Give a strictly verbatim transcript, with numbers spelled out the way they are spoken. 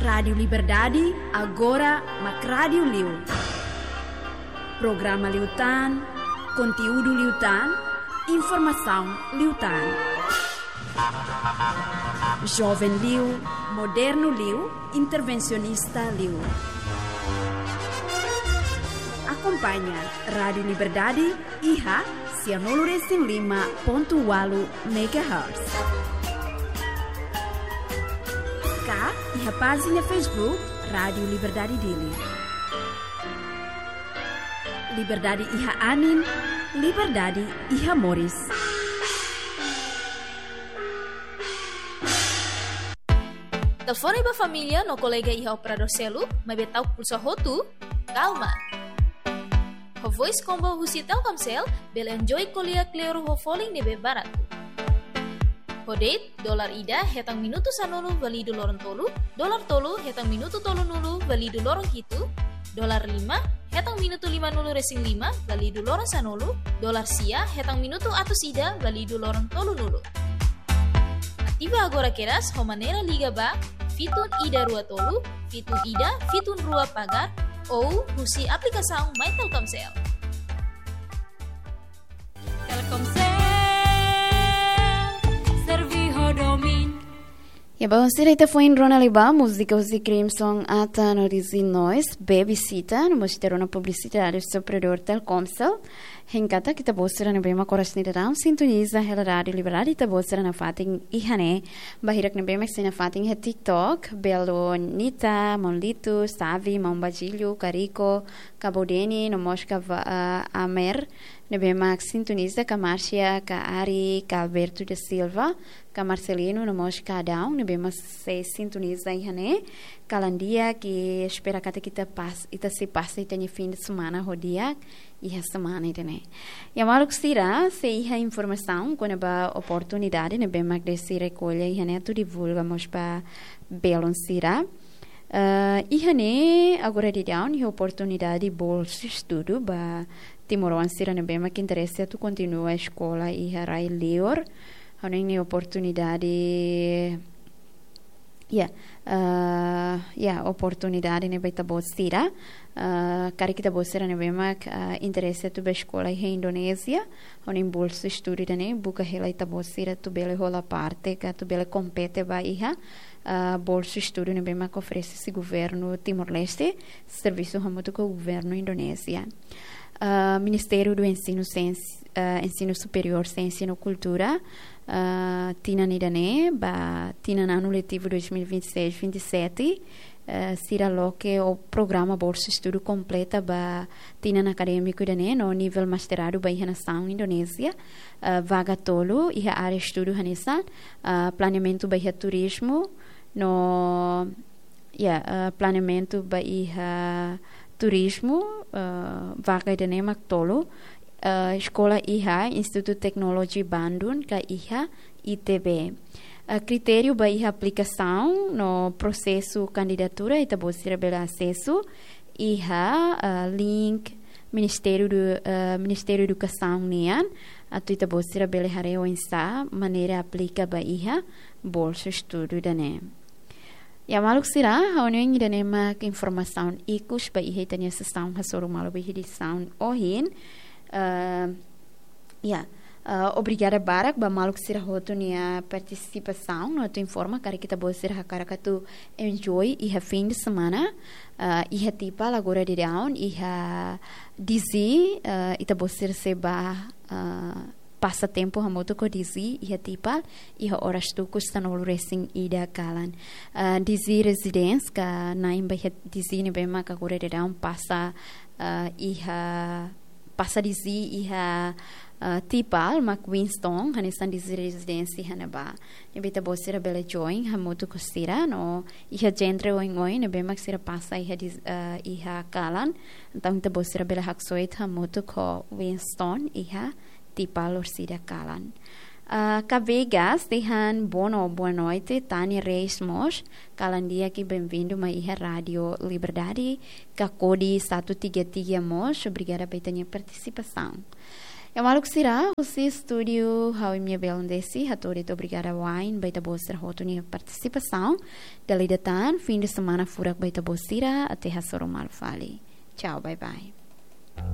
Rádiu Liberdade, agora mak rádiu liu. Programa liután, konteúdu liután, informasaun liután. Joven liu, modernu liu, intervensionista liu. Akompaña Rádiu Liberdade iha sianulu resin lima pontu ualu megahertz. Ka iha pájina Facebook Rádiu Liberdade Dili. Liberdade iha anin, liberdade iha moris. Telefone ba família no kolega iha operadór seluk, maibé ta'uk pulsa hotu, kalma. Ho Voice Combo husi Telkomsel, bele enjoy ko'alia kleur ho folin ne'ebé baratu. Ho date, dolar ida hetan minutu sanulu válidu loron tolu, dolar tolu hetan minutu tolunulu válidu loron hitu, dolar lima hetan minutu limanulu resin lima válidu loron sanulu, dolar sia hetan minutu atus ida válidu loron tolunulu. Ativa agora kedas ho maneira liga ba fitun ida rua tolu, fitun ida, fitun rua pagar, ou husi aplikasaun My Telkomsel. Telkomsel, servi ho domin. Ya, ba sira ita foin rona liu ba múzika husi Crimson Ata no Dizzy Noise, Babysitter, no mós ita rona publisitáriu husi operadór Telkomsel. Hein katak ita-boot sira ne'ebé mak oras ne'e daudaun sintoniza hela Rádiu Liberdade, ita-boot sira nafatin iha ne'e. Ba hirak ne'ebé mak sei nafatin iha TikTok, belu Nita, Maun Litu, Savi, Maun Bajilho, Kariko, Kabodeni, no mós ka va-, ah, Amer, ne'ebé mak sintoniza, ka Márcia, ka Ari, ka Alberto da Silva, ka Marcelino, no mós ka Adão, ne'ebé mak sei sintoniza iha ne'e. Kalan di'ak, espera katak ita pas-, ita sei pasa ita-nia fim de semana ho di'ak iha semana ida-ne'e. Ya maluk sira, se iha informasaun kona-ba oportunidade ne'ebé mak Desi rekolla iha ne'e atu divulga mós ba belun sira. Eh, iha ne'e agora daudaun iha oportunidade bolsa estudu ba timoroan sira ne'ebé mak interese atu kontinua eskola iha rai liur. Ha'u hanoin ne'e oportunidade, ya, eh, ya, oportunidade ne'e ba ita-boot sira. Eh, karik ita-boot sira ne'ebé mak, eh, interese atu ba eskola iha Indonézia, ha'u hanoin bolsa estudu ida-ne'e buka hela ita-boot sira atu bele hola parte, ka atu bele kompete ba iha, eh, bolsa estudu ne'ebé mak oferese husi governu Timor-Leste, servisu hamutuk ho governu Indonézia. Ah, Ministériu do Ensinu, Siénsia, ah, Ensinu Superiór, Siénsia no Kultura, ah, tinan ida-ne'e, ba tinan anu letivu dois mil e vinte e seis, vinte e sete, ah, sira loke ho programa bolsa estudu kompleta ba tinan akadémiku ida-ne'e, no nivel mestradu ba iha nasaun Indonézia, ah, vaga tolu, iha área estudu hanesan, ah, planeamentu ba iha turizmu, no ya, eh, planeamentu ba iha turizmu, eh, vaga ida-ne'e mak tolu, eh, eskola iha Institutu Teknologi Bandung ka iha I T B. Eh, kritériu ba iha aplikasaun no prosesu kandidatura ita-boot sira bele asesu iha, eh, link Ministériu do, eh, Ministériu Edukasaun nian, atu ita-boot sira bele haree oinsá maneira aplika ba iha bolsa estudu ida-ne'e. Ya maluk sira, ha'u hanoin ida-ne'e mak informasaun ikus ba iha ita-nia sesaun hasoru malu ba iha edisaun ohin. Eh, ya, eh, obrigada barak ba maluk sira hotu nia partisipasaun, no atu informa karik ita-boot sira hakarak atu enjoy iha fim de semana, eh, iha Tipal agora daudaun, iha Dizzy, eh, ita-boot sira sei ba, eh, pasa tempu hamutuk ho Dizzy iha Tipal, iha oras tuku sanulu resin ida kalan. Ah, Dizzy Residence ka na'in ba iha Dizzy ne'ebé mak agora daudaun pasa, ah, iha, pasa Dizzy iha, ah, Tipal, mak Winston, hanesan Dizzy Residence iha ne'ebá. Ne'ebé ita-boot sira bele join hamutuk ho sira, no iha genre oioin ne'ebé mak sira pasa iha Diz-, ah, iha kalan. Entaun ita-boot sira bele haksoit hamutuk ho Winston iha Tipal orsida kalan. Ah, ka Vegas, dehan bono, boa noite, Tani Reis mós, kalan di'ak i benvindu mai iha Rádiu Liberdade, ka Kodi satu tiga tiga mós, obrigada ba ita-nia partisipasaun. Ya maluk sira, husi estúdiu ha'u imi-nia belun Desi hato'o de'it obrigada wa'in ba ita-boot sira hotu nia partisipasaun. Dala ida tan, fim de semana furak ba ita-boot sira, até hasoru malu fali. Tchau, bye bye.